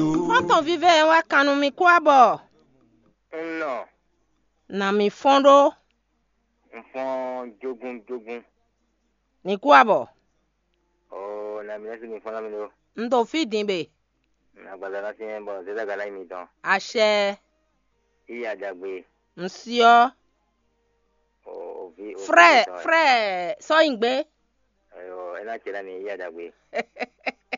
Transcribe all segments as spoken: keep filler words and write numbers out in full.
Xɔ́ntɔn vívɛ́ ɛ wá kan nú mì kú abɔ. Un nɔ, nà mì fɔ́n ɖó. Un fɔ́n jógún jógún. Mì kú abɔ. Oo, nà mì lɛ́ sí mi fɔ́n ná mi ɖó. Un ɖo fí din be. Agbaza ná syɛ́n bɔ zézagala nyí mitɔn. Acɛ. Yí adagbe. Un syɔ́. O, o vi, o vi Frɛ, tɔn. Frɛ, sɔ́ nyi gbé. Ayo, é ná ce ná mi yí adagbe.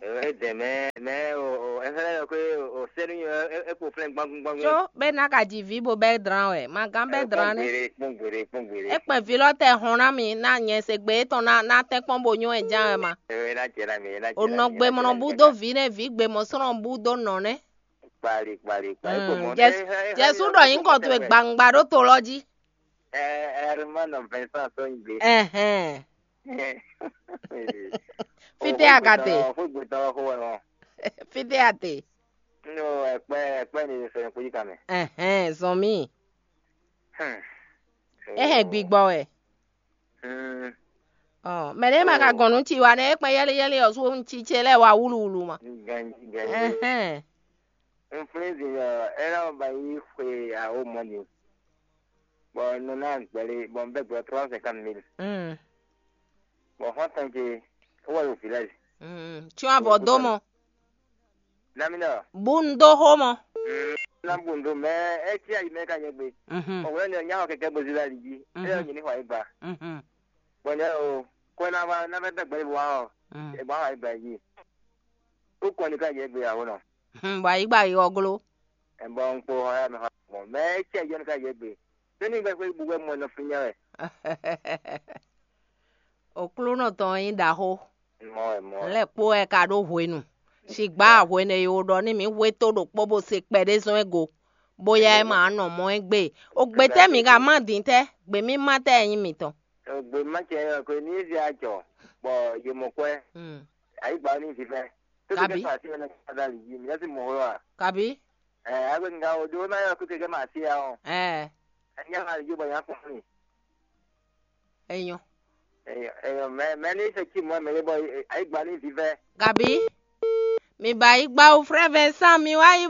Ayo, é dɛmɛ, mɛ o, o, é fɛ́ lɛ́ ɖɔ pé o sɛ́nú nyɔ é kpo flɛ́n gbangún gbangún. Có bɛ ná ka ji vǐ bo bɛ dran wɛ, ma gán bɛ dran nɛ. Kpɔ́n gbeɖé, kpɔ́n gbeɖé, kpɔ́n gbeɖé. É kpɛn vǐ lɔ tɛ hɔn ná mi, ná nyɛ se gbé tɔn ná ná tɛ́n kpɔ́n bo nyɔ́ ɛ ján wɛ ma. Ayo, é ná ce ná mi, é ná ce. O ná nɔ mi, gbé é ná mɔnɔ ce ná bú mi, é dó ná vǐ nɛ, vǐ gbé mɔ sɔ́ nɔ bú dó nɔ nɛ. Kpali, kpali, kpali. Mm, kpo mɔ. Jɛs-, Jɛsu ɖɔ nyǐkɔ towe gbangba ɖó to lɔ jí. Ɛ, Herman Vincent Sɔnyigbe. Ɛhɛn. Fítɛ́ a ka te? Fúgbetɔ xó wɛ nɔ. Fítɛ́ a te? Nɔ ɛkpɛ, ɛkpɛ ni sɔ nyɔkpo yi kan mɛ. Ɛhɛn, zɔn mì. Hmm. É hɛn gbigbɔ wɛ. Hmm. Ɔ, mɛ ɖé ma ka gɔn nú ci wa nɛ, é kpɛn yɛli yɛli ɔ sú un ci ce lɛ́ɛ wa wúluwúlu ma. Ganji, ganji. Ɛhɛn. Un flín din ɔ́, é ná ba yí xwe awo mɔ din. Bɔ un nɔ ná gbɛli, bɔ un bɛ́ gbɛ trois cent cinquante mille. Mm. Bɔ xɔ́ntɔn ce, é wɛ ɖo village. Mm. Tsyɔ́n avɔ dó mɔ. Nami nɔ. Bú un dó xó mɔ. Mm. Ná bu un dó mɛ, é cí ayi mɛ ka nyɛ gbe. Mhm. Ɔwɛ ne nya xɔ kɛkɛ bo zila li jí. É yɔ nyi ní xɔ ayi gba. Mhm. Bɔ nyɛ o, kɔ na va na vɛ bɛ gbɛ wa ɔ. Mm. E ba wa gba yi. Ko kɔ ni ka yɛ gbe awo nɔ. Hmm, bɔ ayǐ gba yi ɔglo. E bɔ un kpo xɔ ya mɛ xɔ mɔ. Mɛ e cɛ yɔ ni ka yɛ gbe. Tɛni gbɛ xwe bu wɛ mɔ nɔ fi nya wɛ. Oklúnɔ tɔn nyí ɖaxó. Mɔ wɛ mɔ. Lɛ kpó wɛ ka ɖó hwenu. Sigbá hwenu e wo ɖɔ ní mǐ hwetó ɖokpó bó se kpɛɖé zɔn é go, bóyá é ma nɔ mɔ é gbe. O gbe tɛ́ mǐ ka má din tɛ́? Gbe mí má tɛ́ nyí mǐtɔn. Gbe má cɛ ɔ́, ko ní zé ajɔ, bɔ yě mɔ kwɛ. Hmm. Ayǐgba ní vivɛ. Tó Kabi. Kɛkɛ ma sí ɛnɛ kpáda lǐ yí, mǐ yá sí mɔ hó a? Kabi. Ɛ, agbe ŋga o ɖó ná yɔ kó kɛkɛ ma sí ya ɔ́. Ɛ. Ɛ nyá ma yó bɔ nyá kpɔ́n mi. Enyɔ. Enyɔ, enyɔ, mɛ, mɛ ní se cí mɔ mɛ lé bɔ ayǐgba ní vivɛ. Gabi, mi ba yi gba o frère Vincent, mi wá yi